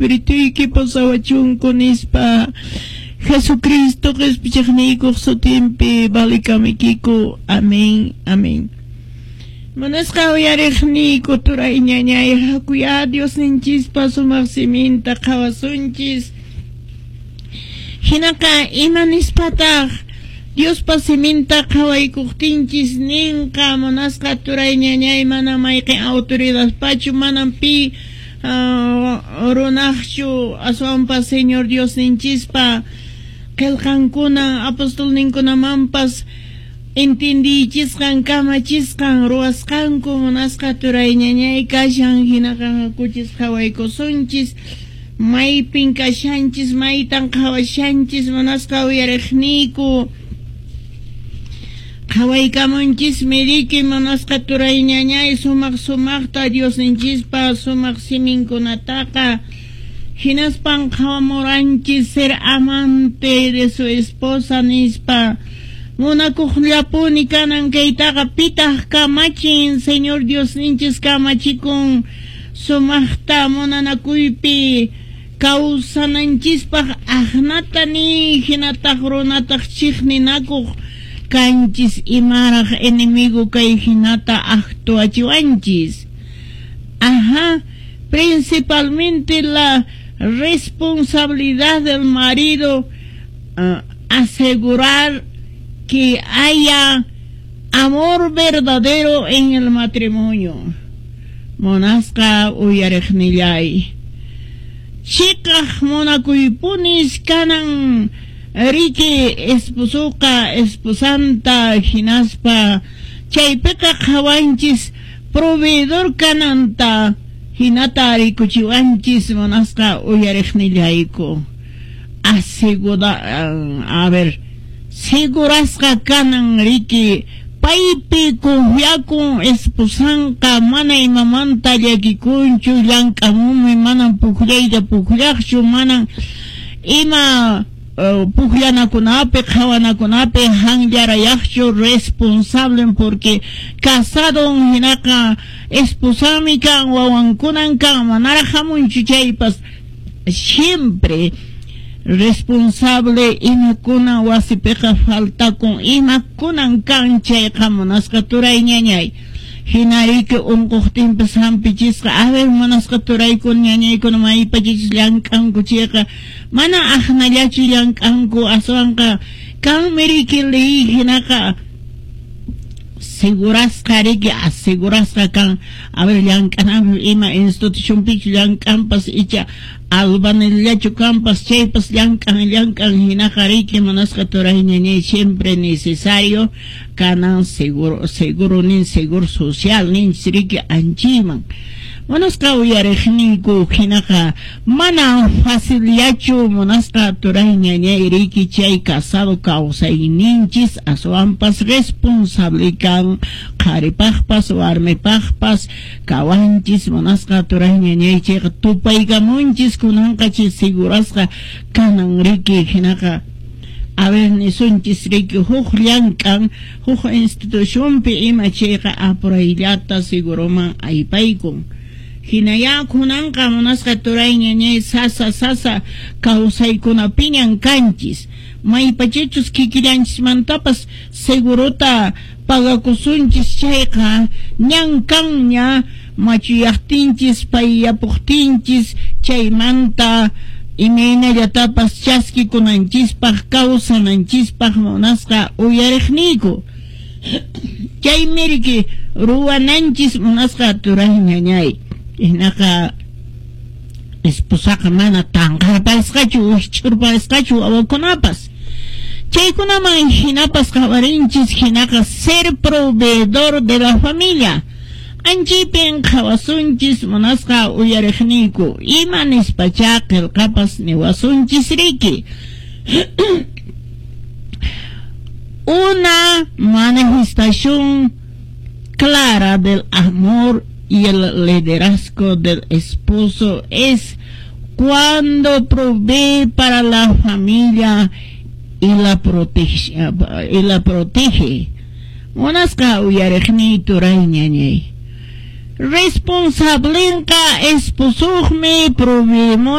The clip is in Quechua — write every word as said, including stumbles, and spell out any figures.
Espirituyki pusawachunku nispa. Jesucristo qhispichiqniykuq sutinpi valikamiykiku. Amén, amén. Munasqa uyariqniyku turay ñañay, hakuya Diosninchispa sumaq siminta qhawasunchis. Hinaqa ima nispataq Diospa siminta qhawaykuqtinchis ninqa? Munasqa turay ñañay, mana mayqin autoridadpachu, manam pi uh, runaqchu, aswanpas Señor Diosninchispa qillqankuna apostolninkunamanpas entendichisqan, kamachisqan, ruwasqanku, munasqa turay ñañay, kashan. Hinaqa hakuchis qhawaykusunchis maypin kashanchis, maytan qhawashanchis. Munasqa uyariqniyku, qhawaykamunchismi riki, munasqa turay ñañay, sumaq sumaqta Diosninchispa sumaq siminkunataqa. Hinaspan qhawamuranchis ser amante de su esposa nispa, munakuqllapuni kanan. Kaytaqa pitaq kamachin? Señor Diosninchis kamachikun sumaqta munanakuypi kawsananchispaq. Aqnata nin, hinataq runataq chiqninakuq kanchis. Imaraq enemigo kay hinata actuachiwanchis? Ajá, principalmente la responsabilidad del marido, uh, asegurar que haya amor verdadero en el matrimonio. Munasqa uyariqnillay, chiqaq munakuypunis kanan riki esposoqa esposanta. Hinaspa chaypiqa qhawanchis proveedor kananta, hinata rikuchiwanchis. Munasqa uyariqnillayku, asegura, a ver, segurasqa kanan riki, paypi confiakun esposanqa, mana imamanta llakikunchu, llank'amunmi, manan pukllayta pukllaqchu, manan ima uh, pukllanakunapi qhawanakunapi hanllarayaqchu, responsable porque casadon. Hinaqa esposami kan, wawankunan kan, manaraq hamunchu chaypas siempre responsable. Imakuna wasipiqa faltakun, imakunan kan chayqa, munasqa turay ñañay, hinariki unquqtinpas hampichisqa. A ver, munasqa turaykuna ñañaykuna, maypachachis llank'anku chayqa mana aqnallachu llank'anku, aswanqa kanmi riki ley. Hinaqa segurasqa riki, asegurasqa kan. A ver, llank'ananpi ima institucionpichu llank'anpas, icha albañillachu kanpas chaypas llank'an, llank'an. Hinaqa riki, munasqa turay ñañay, siempre necesario kanan seguro, seguro nin, seguro social ninchis riki anchayman. Munasqa uyariqniyku, hinaqa mana facilllachu, munasqa turay ñañay, riki chay casado kawsayninchis, aswanpas responsable kan qharipaqpas warmipaqpas kawanchis. Munasqa turay ñañay, chayqa tupaykamunchis kunanqa chay segurasqa kanan riki. Hinaqa a ver, nisunchis riki huk llank'an huk institucionpi ima chayqa apurayllata seguroman aypaykun. Hinaya kunanqa, munasqa turay ñañay, sasa sasa kawsaykunapiñan kanchis. Maypachachus kikillanchismantapas segurota pagakusunchis chayqa ñan kanña machuyaqtinchis, payyapuqtinchis, chaymanta imaynallatapas chaskikunanchispaq, kawsananchispaq. Munasqa uyariqniyku, chaymi riki ruwananchis, munasqa turay ñañay. Hinaqa esposaqa mana tanqarpasqachu, wikch'urpasqachu, wawakunapas chaykunaman hinapas qhawarinchis. Hinaqa ser proveedor de la familia anchipin qhawasunchis. Munasqa uyariqniyku, ima nispachá qillqapas niwasunchis riki? Una manifestación clara del amor y el liderazgo del esposo es cuando provee para la familia y la protege, y la protege. Munasqa uyariqniy turay ñañay, responsablenqa esposuqmi, proveemun.